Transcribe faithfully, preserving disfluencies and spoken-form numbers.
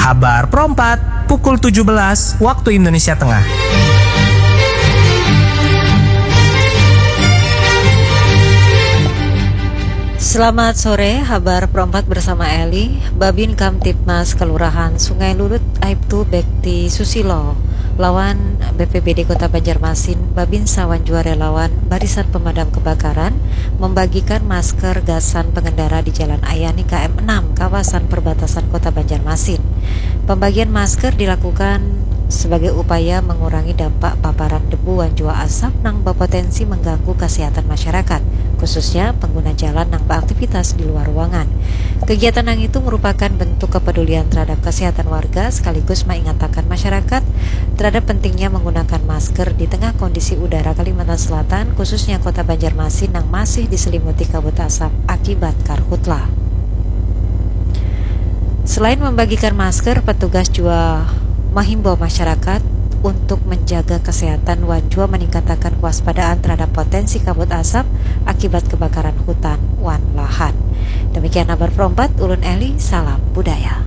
Habar Perompat, pukul tujuh belas waktu Indonesia Tengah. Selamat sore, Habar Perompat bersama Eli. Babin Kamtibmas Kelurahan Sungai Lulut, aibtu Bekti Susilo, lawan B P B D Kota Banjarmasin, Babinsa wan jua relawan Barisan Pemadam Kebakaran membagikan masker gasan pengendara di Jalan Ayani K M enam, kawasan perbatasan Kota Banjarmasin. Pembagian masker dilakukan sebagai upaya mengurangi dampak paparan debu wan jua asap nang berpotensi mengganggu kesehatan masyarakat, khususnya pengguna jalan nang beraktivitas di luar ruangan. Kegiatan nang itu merupakan bentuk kepedulian terhadap kesehatan warga sekaligus mengingatakan masyarakat terhadap pentingnya menggunakan masker di tengah kondisi udara Kalimantan Selatan, khususnya Kota Banjarmasin nang masih diselimuti kabut asap akibat karhutla. Selain membagikan masker, petugas jua menghimbau masyarakat untuk menjaga kesehatan wan jua meningkatakan kewaspadaan terhadap potensi kabut asap akibat kebakaran hutan wan lahan. Demikian Habar Perompat, ulun Eli, salam budaya.